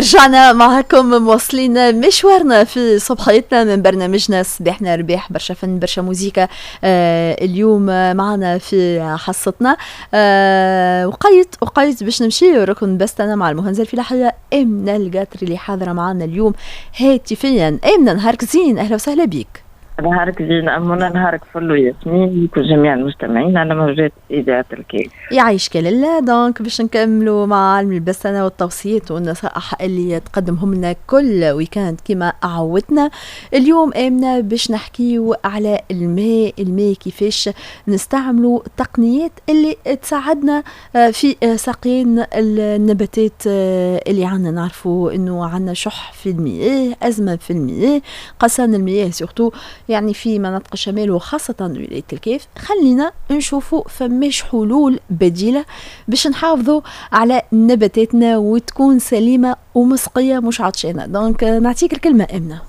رجعنا معكم مواصلين مشوارنا في صبحيتنا من برنامجنا صباحنا رباح، برشا فن برشا موزيكا. اليوم معنا في حصتنا وقيت باش نمشي ركن بستنا مع المهندسة الفلاحية آمنة القاطري اللي حاضرة معنا اليوم هاتفيا. آمنة نهارك زين، أهلا وسهلا بك. نهارك زين أمونة، نهارك فل وياسمين لكل جميع المستمعين على موجات إذاعة الكاف. يعيشك لاله. donc باش نكملوا مع عالم البستنة والتوصيات والنصائح اللي تقدمهم لنا كل week-end كما عودتنا. اليوم آمنة باش نحكيو على الماء، الماء كيفاش نستعملوا التقنيات اللي تساعدنا في سقيان النباتات اللي عندنا. نعرفوا انه عندنا شح في المياه، أزمة في المياه، قصان المياه surtout يعني في مناطق الشمال وخاصة ولاية الكاف. خلينا نشوفوا فماش حلول بديلة باش نحافظوا على نباتاتنا وتكون سليمة ومسقية مش عطشانة. donc نعطيك الكلمة آمنة.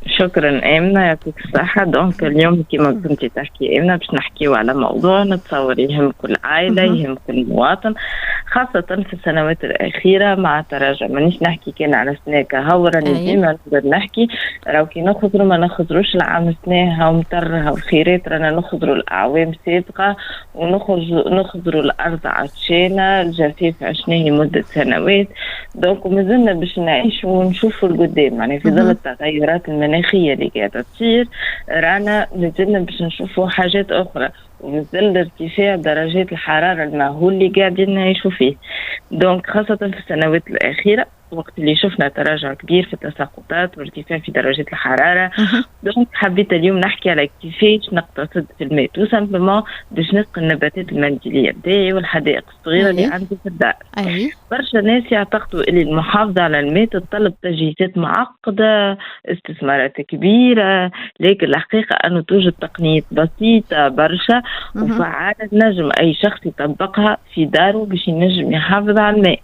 شكرا آمنة، يعطيك الصحة. donc اليوم كما كنتي تحكي آمنة باش نحكيو على موضوع نتصور يهم كل عائلة، يهم كل مواطن، خاصة في السنوات الأخيرة مع تراجع. مانيش نحكي كان على سنة كهو، راني ديما نقدر نحكي راهو كي نخزروا ما نخزروش العام سنة هاو مطر هاو خيرات، رانا نخزروا الأعوام سابقة ونخزروا الأرض عطشانة، الجفاف عشناه لمدة سنوات. donc مازلنا باش نعيشوا ونشوفوا القدام، يعني في ظل التغيرات المناخية اللي قاعدة تصير رانا مازلنا باش نشوفوا حاجات أخرى، ومازال ارتفاع درجات الحرارة المهول اللي قاعدين نعيشوا فيه. donc خاصة في السنوات الأخيرة وقت اللي شفنا تراجع كبير في التساقطات وارتفاع في درجات الحرارة. donc حبيت اليوم نحكي على كيفاش نقتصد في الماء tout simplement باش نسقي النباتات المنزلية بتاعي والحدائق الصغيرة اللي عندي في الدار. برشا ناس يعتقدوا اللي المحافظة على الماء تتطلب تجهيزات معقدة، استثمارات كبيرة، لكن الحقيقة أنه توجد تقنيات بسيطة برشا وفعالة نجم أي شخص يطبقها في داره باش ينجم يحافظ على الماء.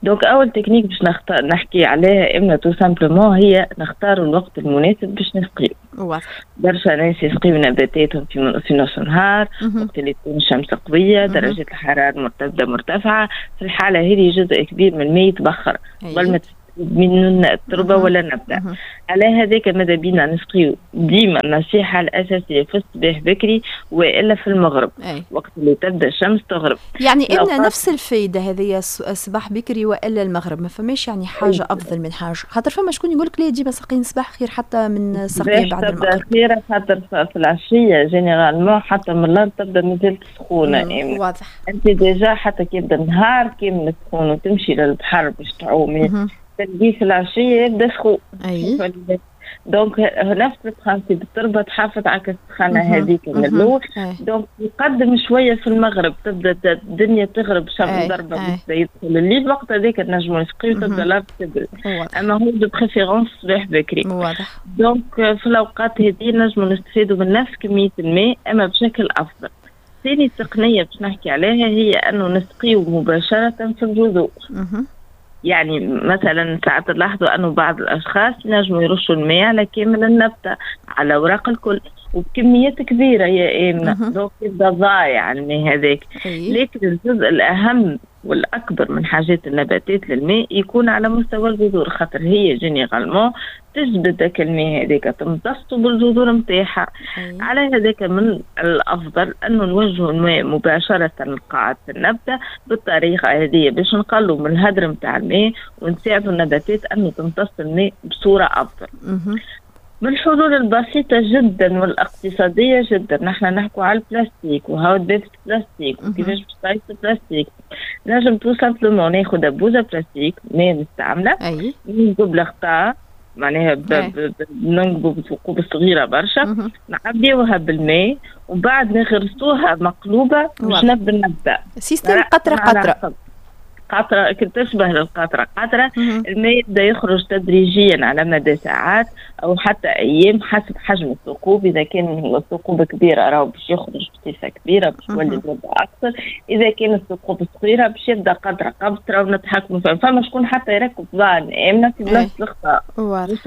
donc اول تكنيك باش نحكي عليها امنا tout simplement هي نختار الوقت المناسب باش نسقيو. برشا ناس يسقيو نباتاتهم في نص النهار وقت اللي تكون الشمس قويه، درجه الحرارة تبدا مرتفعه. في الحالة هذه جزء كبير من الماء يتبخر قبل ما من التربة ولا النبتة. على هذاك ماذا بينا نسقيو ديما النصيحة الاساسية في الصباح بكري والا في المغرب. وقت اللي تبدا الشمس تغرب. يعني إن نفس الفايدة هذه الصباح بكري والا المغرب، ما فماش يعني حاجة افضل من حاجة، خاطر فما شكون يقول لك لا ديما سقين الصباح خير حتى من سقي بعد المغرب. خير خاطر في العشية généralement حتى من الارض تبدا مازالت سخونة. واضح. انت déjà حتى كي يبدا النهار كامل سخون وتمشي للبحر باش تعومي تلقيه في العشية يبدا سخون. donc نفس ال principe التربة تحافظ على السخانه هذيك من الاول. donc يقدم شوية في المغرب تبدا الدنيا تغرب شمس ضربه يدخل الليل، وقت هذاك نجمو نسقيو تبدا الارض تبرد. اما هو de préférence الصباح بكري. واضح. donc في الاوقات هذه نجمو نستفيدوا من نفس كمية الماء اما بشكل افضل. ثاني تقنية باش نحكي عليها هي انه نسقيو مباشرة في الجذور. يعني مثلا ساعات نلاحظوا انه بعض الاشخاص ينجموا يرشوا الماء على كامل النبتة على اوراق الكل وبكميات كبيرة يا امنه، donc يبدا ضايع الماء هذاك. لكن الجزء الاهم والاكبر من حاجات النباتات للماء يكون على مستوى الجذور، خاطر هي généralement تجبد ذاك الماء هذاك تمتصه بالجذور نتاعها. على هذاك من الافضل انه نوجهوا الماء مباشرة لقاعدة النبتة بالطريقة هذه باش نقلوا من الهدر نتاع الماء ونساعدوا النباتات انه تمتص الماء بصورة افضل. من الحلول البسيطة جدا والاقتصادية جدا، نحن نحكوا على البلاستيك وهاو دبابة البلاستيك وكيفاش باش تعيش البلاستيك. نجم tout simplement ناخذ دبوزة بلاستيك ماء مستعملة، نجيب الغطاء معناها ننقبوا بثقوب صغيرة برشا، نعبيوها بالماء وبعد نغرسوها مقلوبة باش نبدا النبتة. système قطرة قطرة. قطرة تشبه للقطرة قطرة. الماء يبدا يخرج تدريجيا على مدى ساعات أو حتى أيام حسب حجم الثقوب. إذا كان الثقوب كبيرة راهو باش يخرج بصفة كبيرة باش يولي المدة أكثر، إذا كان الثقوب صغيرة باش يبدا قطرة قطرة ونتحكموا فيها. فما شكون حتى يركب ضان آمنة في بلاصة الغطاء باش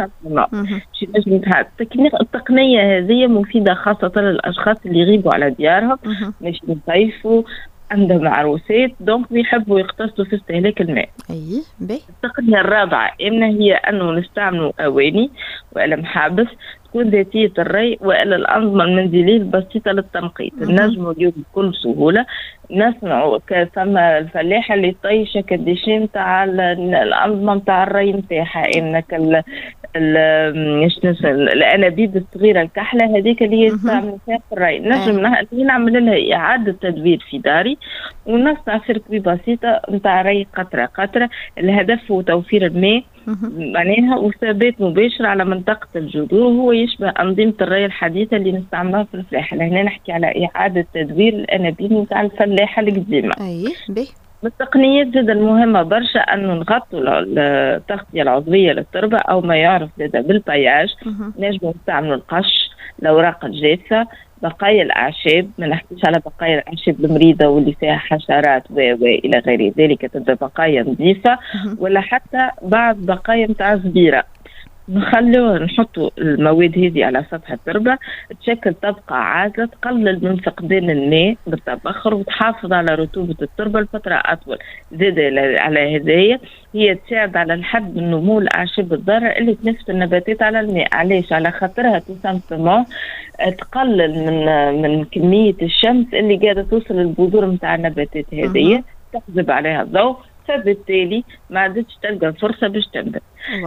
ينجم يتحكم. التقنية هذه مفيدة خاصة للأشخاص اللي يغيبوا على ديارهم مش يصيفوا. عندهم عروسات، donc يحبوا يقتصدوا في استهلاك الماء. اي باهي. التقنية الرابعة إن هي أنه نستعملوا أواني ولا محابس تكون ذاتية الري وإلا الأنظمة المنزلية البسيطة للتنقيط. نجموا اليوم بكل سهولة نصنعوا، فما الفلاحة اللي طيشة ك déchets نتاع الأنظمة نتاع الري نتاعها، إنك الانابيب الصغيرة الكحله هذيك اللي هي تستعمل فيها في الري، نجم نعمل لها اعاده تدوير في داري ونصنع circuit بسيطة نتاع ري قطرة قطره. الهدف هو توفير الماء معناها وثبات مباشر على منطقة الجذور، وهو يشبه انظمة الري الحديثة اللي نستعملوها في الفلاحة. لهنا نحكي على اعاده تدوير الانابيب نتاع الفلاحة القديمه. اي باهي. من التقنيات زاد المهمة برشا أنه نغطوا التغطية العضوية للتربة أو ما يعرف زاد بال paillage. نجموا نستعملوا القش، الأوراق الجافة، بقايا الأعشاب، ما نحكيش على بقايا الأعشاب المريضة واللي فيها حشرات وإلى غير ذلك، تبدا بقايا نظيفة، ولا حتى بعض بقايا نتاع زبيرة. نخلو نحطوا المواد هذه على سطح التربة، تشكل طبقة عازلة تقلل من فقدان الماء بالتبخر وتحافظ على رطوبة التربة لفترة أطول. زاد على هذايا هي تساعد على الحد من نمو الأعشاب الضارة اللي تنافس النباتات على الماء. علاش؟ على خاطرها tout simplement تقلل من كمية الشمس اللي قاعدة توصل للبذور نتاع النباتات هذه، تحجب عليها الضوء، فبالتالي ما عادتش تلقى فرصة باش تنبت.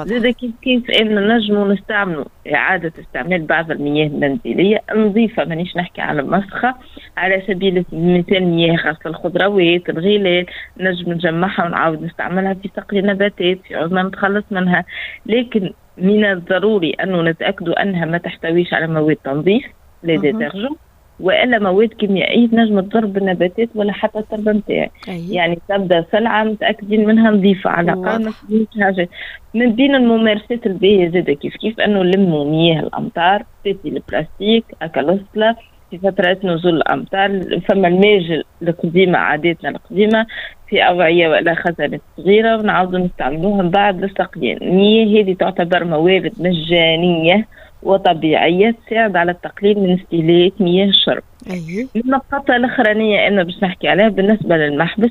زاد كيف كيف ان نجموا نستعملوا اعاده استعمال بعض المياه المنزلية النظيفه، مانيش نحكي على المسخه، على سبيل المثال مياه غسل الخضروات، الغلال، نجم نجمعها ونعاود نستعملها في سقي النباتات في عوض ما نتخلص منها. لكن من الضروري انه نتاكدوا انها ما تحتويش على مواد تنظيف، les détergents، والا مواد كيميائية تنجم تضر بالنباتات ولا حتى التربة نتاعي. يعني تبدا سلعه متاكدين منها نظيفة على الاقل، ما فيهاش حاجه. من بين الممارسات الباهيه زاده كيف كيف انه نلموا مياه الامطار في البلاستيك اكالوسلا في فترات نزول الامطار. فما الماجل القديمه، عاداتنا القديمه، في اوعيه ولا خزانات صغيرة ونعاودوا نستعملوها من بعد للسقيان. المياه هذه تعتبر موارد مجانية وطبيعيه تساعد على التقليل من استهلاك مياه الشرب. النقطة الأخرانية أنا باش نحكي عليها بالنسبة للمحبس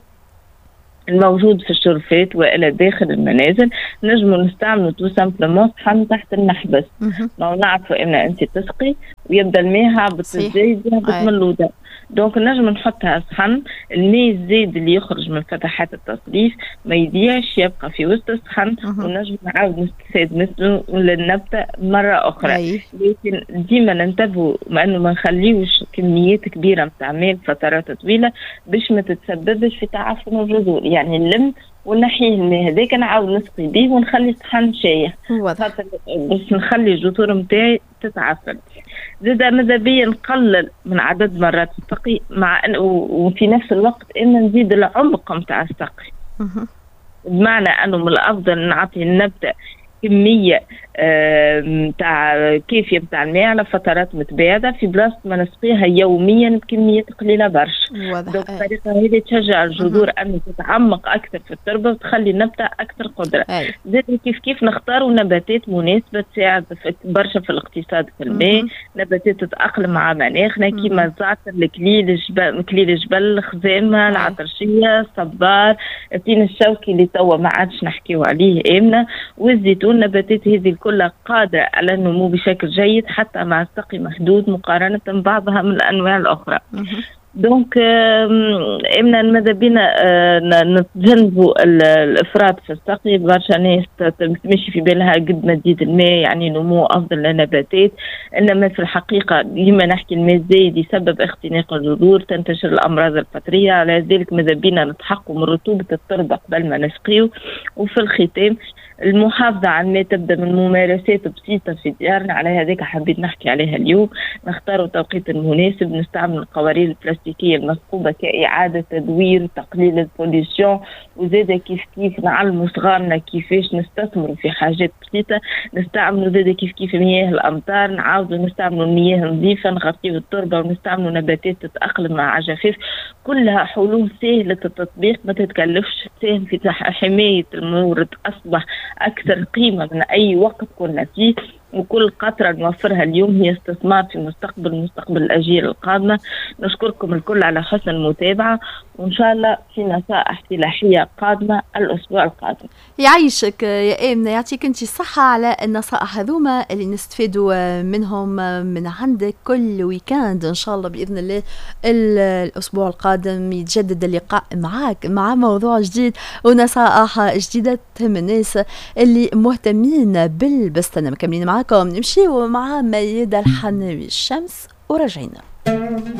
الموجود في الشرفات والى داخل المنازل، نجموا نستعملوا tout simplement صحن تحت المحبس. ما نعرفوا ان انت تسقي ويبدا الماء هابط الزايد يهبط من اللوطه، donc نجم نحطها صحن، الماء الزايد اللي يخرج من فتحات التصريف ما يضيعش، يبقى في وسط الصحن ونجم نعاود نستفاد منه للنبته مرة اخرى. لكن ديما ننتبهوا مع انه ما نخليوش كميات كبيرة نتاع ماء فترات طويلة باش ما تتسببش في تعفن الجذور. يعني نلم ونحيه الماء هذاك، نعاود نسقي به ونخلي الصحن شايح خاطر باش نخلي الجذور نتاعي تتعفن. زاد ماذا بيا نقلل من عدد مرات السقي مع أن وفي نفس الوقت ان نزيد العمق نتاع السقي، بمعنى انه من الافضل نعطي النبتة كمية نتاع كافيه نتاع الماء على فترات متباعدة في بلاصة ما نسقيها يوميا بكميات قليله برشا. donc الطريقة هذه تشجع الجذور ان تتعمق اكثر في التربة وتخلي النبتة اكثر قدره. زاد كيف كيف نختاروا نباتات مناسبة تساعد برشا في الاقتصاد في الماء، نباتات تتاقلم مع مناخنا كيما الزعتر، الكليل الجبل، كليل الجبل، الخزامه، العطرشيه، الصبار، التين الشوكي اللي توا ما عادش نحكيو عليه امنه، والزيتون. النباتات هذه الكل قادرة على النمو بشكل جيد حتى مع سقي محدود مقارنة بعضها من الأنواع الأخرى. donc امنا ماذا بينا نتجنبوا الافراط في السقي. برشا ناس تمشي في بالها قد ما تزيد الماء يعني نمو افضل للنباتات، انما في الحقيقة ديما نحكي الماء الزايد يسبب اختناق الجذور، تنتشر الامراض الفطريه. على ذلك ماذا بينا نتحققوا من رطوبة التربة قبل ما نسقيو. وفي الختام، المحافظة على الماء تبدأ من ممارسات بسيطة في ديارنا، على هذاك حبيت نحكي عليها اليوم. نختاروا التوقيت المناسب، نستعمل القوارير البلاستيكية المثقوبة كإعادة تدوير، تقليل ال pollution، وزاد كيف كيف نعلموا صغارنا كيفاش نستثمروا في حاجات بسيطة. نستعملوا زاد كيف كيف مياه الأمطار، نعاودوا نستعملوا المياه النظيفة، نغطيو التربة، ونستعملوا نباتات تتأقلم مع جفاف. كلها حلول سهلة التطبيق، ما تتكلفش، تساهم في حماية المورد أصبح أكثر قيمة من أي وقت كنا فيه، وكل قطرة نوفرها اليوم هي استثمار في مستقبل الأجيال القادمة. نشكركم الكل على حسن المتابعة، وإن شاء الله في نصائح فلاحية قادمة الأسبوع القادم. يعيشك يا آمنة، يعطيك أنت الصحة على النصائح هذوما اللي نستفيدوا منهم من عندك كل week-end. إن شاء الله بإذن الله الأسبوع القادم يتجدد اللقاء معاك مع موضوع جديد ونصائح جديدة تهم الناس اللي مهتمين بالبستنة. مكملين معاكم، نمشيو مع ميادة الحناوي الشمس وراجعين.